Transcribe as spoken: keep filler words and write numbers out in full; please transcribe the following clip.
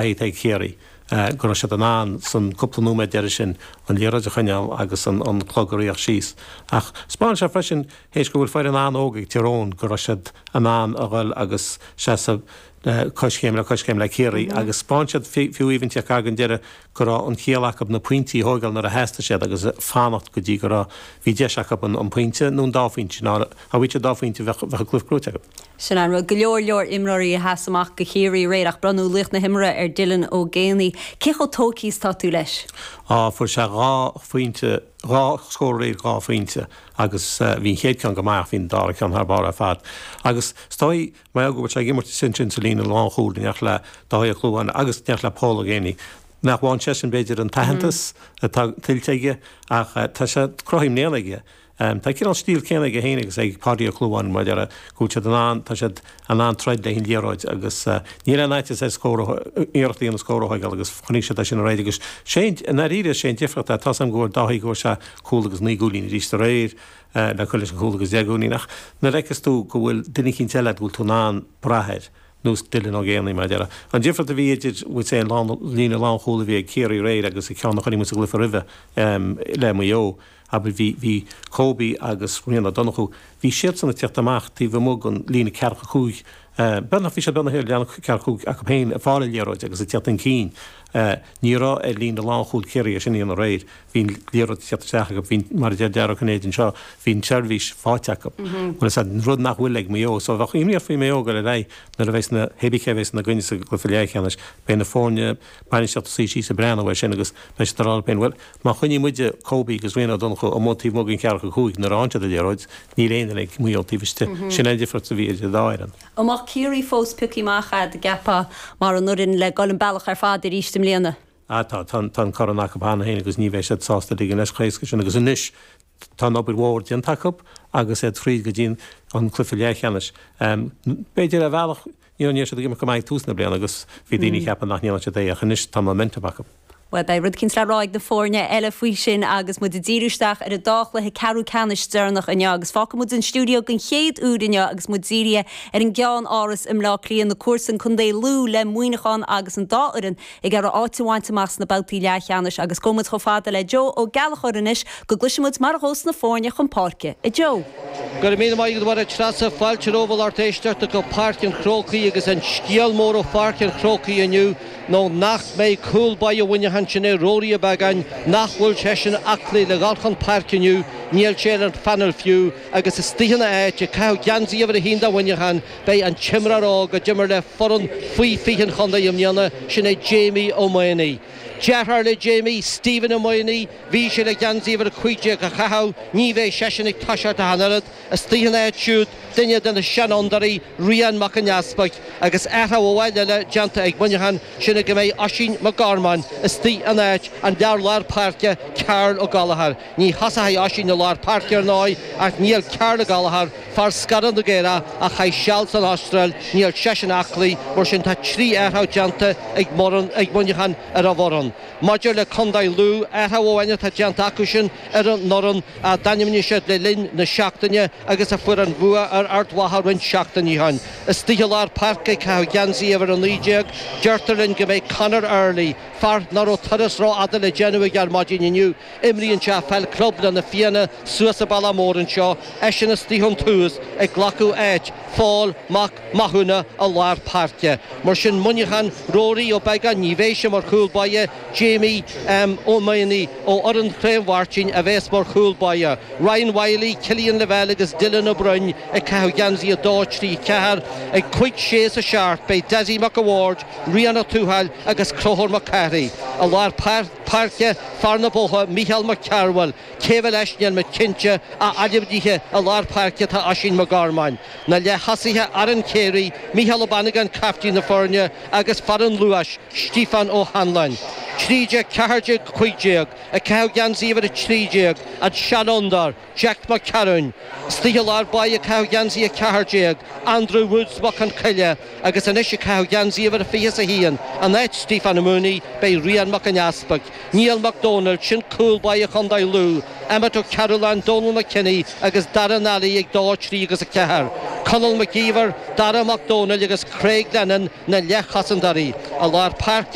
Ag Ciarraí go raibh siad in ann san cúpla nóiméad deiridh sin an liathróid a choinneáil agus an an clog a ritheadh síos. Ach 'spáin sé freisin théis go bhfuil foireann an-óg ag Tír Eoghain go raibh siad in ann a dhul agus seasamh coiscéim le coiscéim le Ciarraí agus 'spáin siad fiú even ag an deireadh go raibh an chiall acu na pointí a thógáil nuair a theastaigh siad agus fanacht go dtí go raibh bhí deis acu an pointe nó an dá phointe ná a bhí dá phointe bheadh an cluiche gnóthaithe acu. Sin an rud go leor leor imreoirí a sheas amach do Chiarraí aréir ach bronnadh laoch na himeartha ar Dylan Ó Géibheannaigh. Cé chomh tógtha is tá tú leis? Á fuair sé dhá phointe dhá scór dhá phointe agus bhí an chéad ceann go maith bhí an dara ceann thar barr ar fad. Agus stoi mar go bhfuil sé ag imirt sin sin sa líne lánchúil in éineacht le Dáithí Ó Clúmháin agus in éineacht le Paul Ó Géibheannaigh. Nach bhfaigheann sé sin b'fhéidir an t-aitheantas atá tuillte aige ach tá sé cruthaithe i mbliana aige. Tá cineál stíl céanna aige féin agus ag Páidí Ó Clúmháin mar deara go bhfuil siad in ann tá siad in ann troid le an liathróid agus níl aon fhaitíos ar scór iarracht a dhéanamh scór a thógáil agus chonaic siad é sin aréir agus sé i ndáiríre sé an difríocht é tá am go bhfuil Dáithí go bhfuil sé cúl agus naoi gcúilín arís aréir le cur leis an chúl agus deich gcúilín ach nuair a fheiceas tú go bhfuil duine eicínt eile go bhfuil tú in ann brath air nós Dylan Ó Géibheannaigh mar deara. An difríocht a bhí idir bhfuil sé an líne lánchúil a bhí ag Ciarraí aréir agus an ceann a chonaic muid sa gcluiche roimhe le Maigh Eo. Aber bhí bhí Kobe agus Rian Ó Donnchú, bhí siadsan ag teacht amach taobh amuigh den líne ceathracha cúig beagnach bhí siad beagnach ar líne ceathracha cúig acu féin ag fáil an liathróid agus ag teacht chun cinn. Ní raibh ar líne lánchúil Chiarraí sin í an aréir, bhí an liathróid ag teacht isteach acu, bhí mar a deir Dara Ó Cinnéide anseo, bhí an tseirbhís faighte acu. Bhuel is an rud nach bhfuil ag Maigh Eo, so bheadh imní faoi Maigh Eo go ar aghaidh nuair a bheas na hébí cé bheas ina gcoinne sa gcluiche leathcheannais, beidh na foirne bainistíochta suí síos ag breathnú air sin agus beidh siad ag rá leo féin, well má choinníonn muide Kobe agus Rian Ó Donnchú amuigh taobh amuigh den cheathracha cúig nuair a fhaigheann siad an liathróid, níl aon duine ag Maigh Eo taobh istigh. Sin an difríocht a bhí idir an dá fhoireann. An mbeadh Ciarraí fós pioctha amach a'd an gceapfá mar an fhoireann le dul an bealach ar fad arís i mbliana. Ah tá tá an corn acu cheana féin agus ní bheidh siad sásta ligean leis chomh héasca sin agus anois tá an obair mhór déanta acu agus iad fríd go dtí an cluiche leathcheannais. B'fhéidir ar bhealach ní ní siad ag imirt go maith ag tús na bliana agus bhí daoine ag ceapadh nach ndéanfadh siad é ach anois tá momentum acu. Well beidh rud éicint le rá ag na foirne eile faoi sin agus muid ag díriú isteach ar an dá chluiche ceathrú ceannais deireanach inniu agus fágfaidh muid an stiúideo den chéad uair inniu agus muid dírithe ar an gCeann-Áras i mBleá Cliath na comharsain Contae Lú le Muineachán agus an dá fhoireann ag iarraidh áit a bhaint amach sna babhtaí leathcheannais agus gabhfaidh muid chomh fada le Joe Ó Gallchóir anois go gcloisfidh muid mar a ghabhas na foirne chun páirce a Joe. Gur mí maith go treasa fáilte romhaibh lucht éisteachta go Páirc an Chrócaigh agus an scéal mór ó Pháirc an Chrócaigh inniu nó nach mbeidh cúl báire Mhuineacháin sin é Rory Ó Beagáin nach bhfuil sé sin aclaí le dhul chun páirce inniu níl sé ar an phainéal fiú agus istigh ina áit ag caitheamh geansaí uimhir a haon do Mhuineachán beidh an t-imreoir óg a d'imir le foireann faoi fiche an chontae i mbliana sin é Jamie Ó Maonaigh. Deartháir le Jamie, Stephen Ó Maonaigh, bhí sé le geansaí uimhir a cúig déag a chaitheamh, ní bheidh seisean ag toiseacht ach an oiread, istigh ina áit siúd duine de na seanfhondúirí Rian Mac an Easpaig agus athrú amháin eile déanta ag Muineachán sin go mbeidh Oisín Mac Gormáin istigh in áit an fhear lár páirce Carl Ó Gallchóir. Ní thosóidh Oisín i lár páirce ar ndóigh ach níl Carl Ó Gallchóir fear Scarra na Gaeilge a chaith seal san Astráil, níl seisean aclaí mar sin tá trí athrú déanta ag ag Muineachán ar a bhfoireann. Maidir le Contae Lú athrú amháin atá déanta acu sin ar an bhfoireann a d'ainmnigh siad le linn na seachtaine agus a fuair an bua ar Ard Mhacha roinnt seachtainí ó shin. Istigh i lár páirce caitheamh geansaí uimhir a naoi déag, deirtear linn go mbeidh Conor Early, fear nach raibh turas rófhada le déanamh ag ar maidin inniu, imríonn sé peil club le na Fianna suas sa Bealach Mór anseo, eisean istigh ón tús ag glacadh áit Phól Mac Mathúna i lár páirce. Mar sin Muineachán Rory Ó Beagáin ní bheidh sé mar chúl báire Jamie um, Ó Maonaigh ó fhoireann Chraobh Mháirtín a bheas mar chúl báire. Ryan Wiley, Killian Lavelle agus Dylan Ó Broin ag caitheamh geansaí a dó trí ceathair ag cúig sé sa seacht beidh Desi McAward, Rian Ó Tuathail agus Conchúr Mac Cárthaigh. I lár páirce fear na Bótha Micheál Mac Cearbhaill, cé leis níl mé cinnte a ainmnithe i lár páirce tá Oisín Mac Gormáin. Na leath-thosaithe Aaron Carey, Micheál Ó Bannagáin captaen na foirne agus fear an luais Stephen Ó Hanláin. Trí déag ceathair déag cúig déag ag caitheamh geansaí uimhir a trí déag an seanfhondúir Jack McCarron. Istigh i lár báire ag caitheamh geansaí a ceathair déag, Andrew Woods Mac an Choille agus anois ag caitheamh geansaí uimhir a fiche a haon. In áit Stephen Mooney beidh Rian Ciarán Mac an Easpaig, Niall Mac Dónaill sin cúl báire Chontae Lú, Emmet Ó Cearúláin Donal McKinney agus Darren Alley ag dó trí agus a ceathair. Conall McGeever, Dara Mac Dónaill agus Craig Lennon na leathchosantóirí i lár páirce